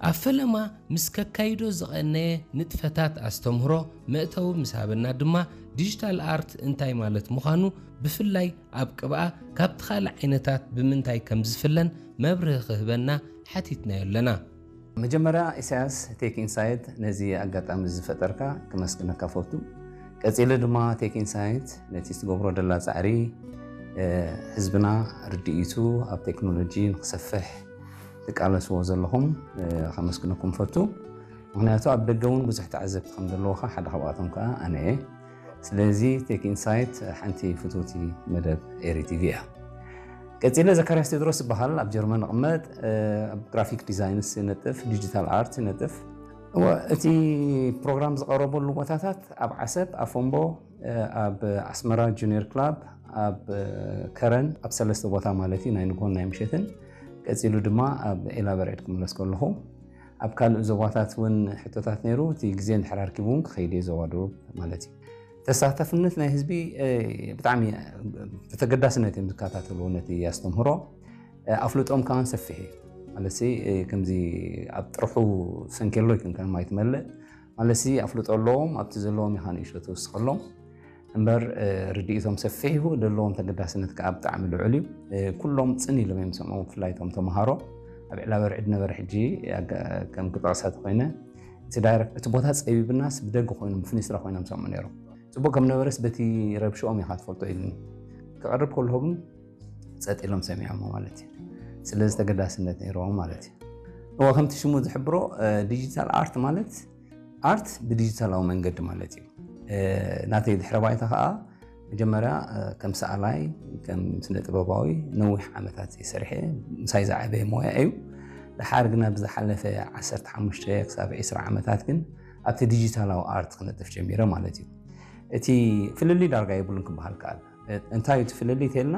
ኣብ ፈለማ ምስ ከካይዶ ዝቐነየ ንጥፈታት ኣስተምህሮ መእተዊ ምስ ሃበና ድማ፣ ዲጂታል ኣርት እንታይ ማለት ምዃኑ፣ ብፍላይ ኣብ ቅብኣ ካብቲ ካልእ ዓይነታት ብምንታይ ከም ዝፍለን መብርሂ ክህበና ሓቲትናዮ ኣለና። መጀመርያ ኢሳያስ ቴክ ኢንሳይት ነዚ ኣጋጣሚ ዝፈጠርካ ክመስግነካ ፈቱ። ቀጺለ ድማ ቴክ ኢንሳይት ነቲ ዝትገብሮ ደላ ጻዕሪ፣ እ፣ ህዝብና ርድኢቱ ኣብ ቴክኖሎጂ ንክሰፍሕ ትቃለስዎ ዘለኹም፣ እ፣ ከመስግነኩም ፈቱ። ምኽንያቱ ኣብ ደገ እውን ብዙሕ ተዓዘብቲ ከም ዘለውኻ ሓደ ካብኣቶም ከኣ ኣነ እየ። ስለዚ ቴክ ኢንሳይት ሓንቲ ፍትውቲ መደብ ኤሪ ቲቪ እያ። ቀጺለ ዘካርያስ ቴድሮስ ዝበሃል ኣብ ጀርመን እቕመጥ፣ እ፣ ኣብ ግራፊክ ዲዛይንስ ይነጥፍ፣ ዲጂታል ኣርት ይነጥፍ። እወ፣ እቲ ፕሮግራም ዝቐረበሉ ቦታታት ኣብ ዓሰብ፣ ኣብ ፎምቦ፣ እ፣ ኣብ ኣስመራ ጁኒየር ክላብ፣ ኣብ፣ እ፣ ከረን፣ ኣብ ሰለስተ ቦታ ማለት እዩ፣ ናይ ንግሆን ናይ ምሸትን። ቀጺሉ ድማ ኣብ ዒላ በርዕድ ክምለስ ከለኹ፣ ኣብ ካልእ ዞባታት እውን ሕቶታት ነይሩ። እቲ ግዜ እንድሕር ኣርኪቡ እውን ክኸይድ እየ ዞባ ደቡብ ማለት እዩ። ተሳታፍነት ናይ ህዝቢ፣ እ፣ ብጣዕሚ ብተገዳስነት እዮም ዝከታተልዎ ነቲ ኣስተምህሮ። እ፣ ኣፍልጦም ከማን ሰፊሕ እዩ። ማለትሲ፣ እ፣ ከምዚ ኣብ ጥርሑ ሰንኬሎ ኣይኮንካን ማይ ትመልእ። ማለትሲ ኣፍልጦ ኣለዎም፣ ኣብቲ ዘለዎም ኢኻ ንእሽቶ ትውስኸሎም። እምበር፣ እ፣ ርድኢቶም ሰፊሕ እዩ፣ ዘለዎም ተገዳስነት ከኣ ብጣዕሚ ልዑል እዩ። እ፣ ኩሎም ጽን ኢሎም እዮም ዝሰምዑ፣ ብፍላይ እቶም ተምሃሮ። ኣብ ዕላበ ርዕድ ነበረ ሕጂ ኣጋ-፣ ከም ክጠቕሳ ተኾይነ፣ እቲ ዳይረክት፣ እቲ ቦታ ጸቢብናስ ብደገ ኮይኖም፣ ብፍኒስትራ ኮይኖም ዝሰምዑ ነይሮም። ጽቡቕ ከም ነበረስ በቲ ረብሽኦም ኢኻ ትፈልጦ ኢሉኒ። ክቐርብ ከለኹ ግን ጸጥ ኢሎም ሰሚዖሞ ማለት እዩ። ስለዚ ተገዳስነት ነይርዎም ማለት እዩ። እወ፣ ከምቲ ሽሙ ዝሕብሮ፣ እ፣ ዲጂታል ኣርት ማለት ኣርት ብዲጂታላዊ መንገዲ ማለት እዩ። እ፣ ናተይ ድሕረ ባይታ ከኣ መጀመርያ፣ እ፣ ከም ሰኣላይ፣ ከም ስነ ጥበባዊ ነዊሕ ዓመታት እየ ሰሪሐ፣ ምሳይ ዝዓበየ ሞያ እዩ። ደሓር ግና ብዝሓለፈ ዓሰርተ ሓሙሽተ ክሳብ ዕስራ ዓመታት ግን ኣብቲ ዲጂታላዊ ኣርት ክነጥፍ ጀሚረ ማለት እዩ። እቲ ፍልልይ ዳርጋ የብሉን ክበሃል ከኣል። እ፣ እንታይ እዩ እቲ ፍልልይ ተልና?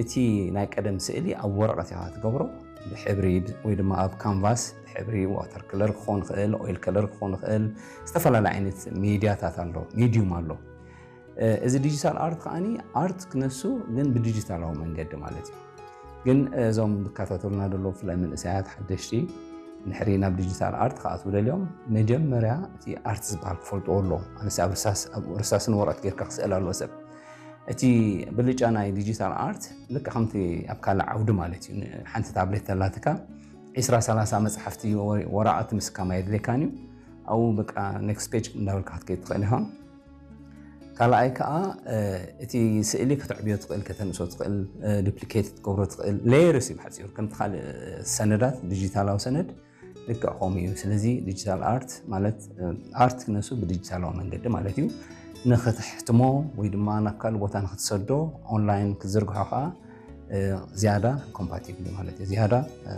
እቲ ናይ ቀደም ስእሊ ኣብ ወረቐት ኢኻ ትገብሮ፣ ብሕብሪ ወይ ድማ ኣብ ካንቫስ፣ ብሕብሪ ዋተር ከለር ክኾን ይኽእል፣ ኦይል ከለር ክኾን ይኽእል፣ ዝተፈላለየ ዓይነት ሜድያታት ኣሎ፣ ሜድዩም ኣሎ። እ፣ እዚ ዲጂታል ኣርት ከኣኒ ኣርት ክነሱ ግን ብዲጂታላዊ መንገዲ ማለት እዩ። ግን እዞም ዝከታተሉና ዘለዉ ብፍላይ መንእሰያት ሓደሽቲ እንድሕሪ ናብ ዲጂታል ኣርት ክኣትዉ ደልዮም መጀመርያ እቲ ኣርት ዝበሃል ክፈልጥዎ ኣለዎም። ኣነስ ኣብ ርሳስ፣ ኣብ ርሳስን ወረቐት ጌርካ ክስእል ኣለዎ ሰብ። እቲ ብልጫ ናይ ዲጂታል ኣርት ልክዕ ከምቲ ኣብ ካልእ ዓውዲ ማለት እዩ። ን-፣ ሓንቲ ታብሌት ተላትካ ዒስራ ሰላሳ መጽሓፍቲ ወ-፣ ወረቐት ምስካም ኣየድልየካን እዩ። ኣብኡ በቃ ኔክስት ፔጅ እንዳበልካ ክትከይድ ትኽእል ኢኻ። ካልኣይ ከኣ፣ እ፣ እቲ ስእሊ ከተዕብዮ ትኽእል፣ ከተንእሶ ትኽእል፣ እ፣ ዱፕሊኬት ክትገብሮ ትኽእል። ሌየርስ እዩ ብሓጺሩ። ከምቲ ካልእ ሰነዳት፣ ዲጂታላዊ ሰነድ ልክዕ ከምኡ እዩ። ስለዚ ዲጂታል ኣርት ማለት፣ እ፣ ኣርት ክነሱ ብዲጂታላዊ መንገዲ ማለት እዩ። ንኽትሕትሞ ወይ ድማ ናብ ካልእ ቦታ ንኽትሰዶ፣ ኦንላይን ክትዝርግሖ ከኣ፣ እ፣ ዝያዳ ኮምፓቲብል እዩ ማለት እዩ። ዝያዳ፣ እ፣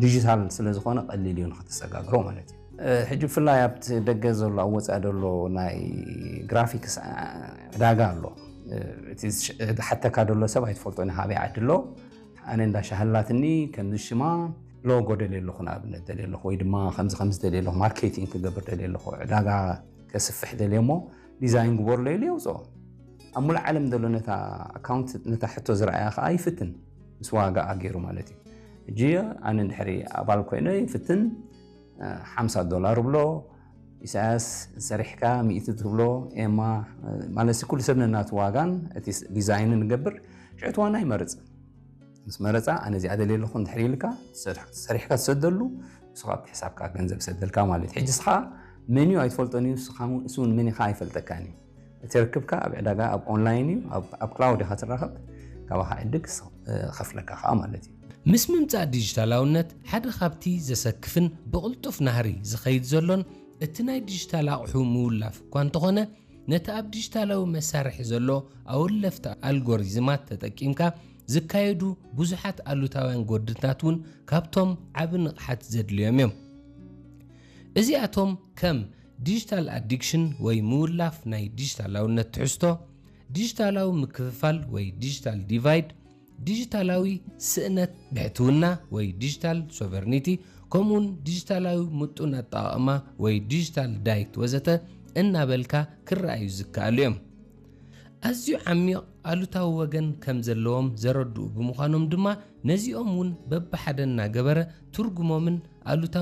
ዲጂታል ስለ ዝኾነ ቀሊል እዩ ንኽትሰጋግሮ ማለት እዩ። እ፣ ሕጂ ብፍላይ ኣብቲ ደገ ዘሎ፣ ኣብ ወጻኢ ዘሎ ናይ ግራፊክስ፣ እ፣ ዕዳጋ ኣሎ። እ፣ እቲ ዝሽ-፣ ዝሓተካ ዘሎ ሰብ ኣይትፈልጦን ኢኻ ኣበይ ዓዲ ኣሎ። ኣነ እንዳ ሻህላትኒ ከምዚ ሽማ ሎጎ ደልየ ኣለኹ፣ ንኣብነት ደልየ ኣለኹ፣ ወይ ድማ ከምዚ ከምዚ ደልየ ኣለኹ፣ ማርኬቲንግ ክገብር ደልየ ኣለኹ፣ ዕዳጋ ከስፍሕ ደልየ እሞ ዲዛይን ግበርሎ ኢሉ የውፅኦ። ኣብ ሙሉእ ዓለም ዘሎ ነታ ኣካውንት፣ ነታ ሕቶ ዝረኣያ ከዓ ይፍትን፣ ምስ ዋጋኣ ገይሩ ማለት እዩ። ሕጂ ኣነ እንድሕሪ ኣባል ኮይነ ይፍትን፣ ሓምሳ ዶላር ብሎ፣ ኢሳያስ ሰሪሕካ ሚእቲ ትብሎ፣ ኤማ፣ ማለትሲ ኩሉ ሰብ ነናቱ ዋጋን እቲ ስ-፣ ዲዛይንን ንገብር። ሽዑ እቲ ዋና ይመርጽ። ምስ መረጻ፣ ኣነ እዚኣ ደልየ ኣለኹ እንድሕር ኢልካ፣ ሰሪሕ-፣ ሰሪሕካ ትሰደሉ፣ ንሱ ካብ ሕሳብካ ገንዘብ ሰደልካ ማለት እዩ። ሕጂ ንስኻ መን እዩ ኣይትፈልጦን እዩ፣ ንስኻ እውን፣ እሱ እውን መን ኢኻ ኣይፈልጠካን እዩ። እቲ ርክብካ ኣብ ዕዳጋ፣ ኣብ ኦንላይን እዩ፣ ኣብ፣ ኣብ ክላውድ ኢኻ ትራኸብ፣ ካባኻ ዕድግ ስ-፣ እ፣ ኸፍለካ ኸኣ ማለት እዩ። ምስ ምምጻእ ዲጂታላውነት፣ ሓደ ካብቲ ዘሰክፍን ብቕልጡፍ ናህሪ ዝኸይድ ዘሎን እቲ ናይ ዲጂታል ኣቕሑ ምውላፍ እኳ እንተኾነ፣ ነቲ ኣብ ዲጂታላዊ መሳርሒ ዘሎ ኣወለፍቲ ኣልጎሪዝማት ተጠቂምካ ዝካየዱ ብዙሓት ኣሉታውያን ጎድንታት እውን ካብቶም ዓቢ ንቕሓት ዘድልዮም እዮም። እዚኣቶም ከም ዲጂታል ኣዲክሽን ወይ ምውላፍ ናይ ዲጂታላውነት ትሕዝቶ፣ ዲጂታላዊ ምክፍፋል ወይ ዲጂታል ዲቫይድ፣ ዲጂታላዊ ስእነት ብሕትውና ወይ ዲጂታል ሶቨርኒቲ፣ ከምኡውን ዲጂታላዊ ምጡን ኣጠቓቕማ ወይ ዲጂታል ዳይት ወዘተ እናበልካ ክረኣዩ ዝከኣሉ እዮም። ኣዝዩ ዓሚቕ ኣሉታዊ ወገን ከም ዘለዎም ዘረድኡ ብምዃኖም ድማ፣ ነዚኦም እውን በብሓደ እናገበረ ትርጉሞምን ኣሉታዊ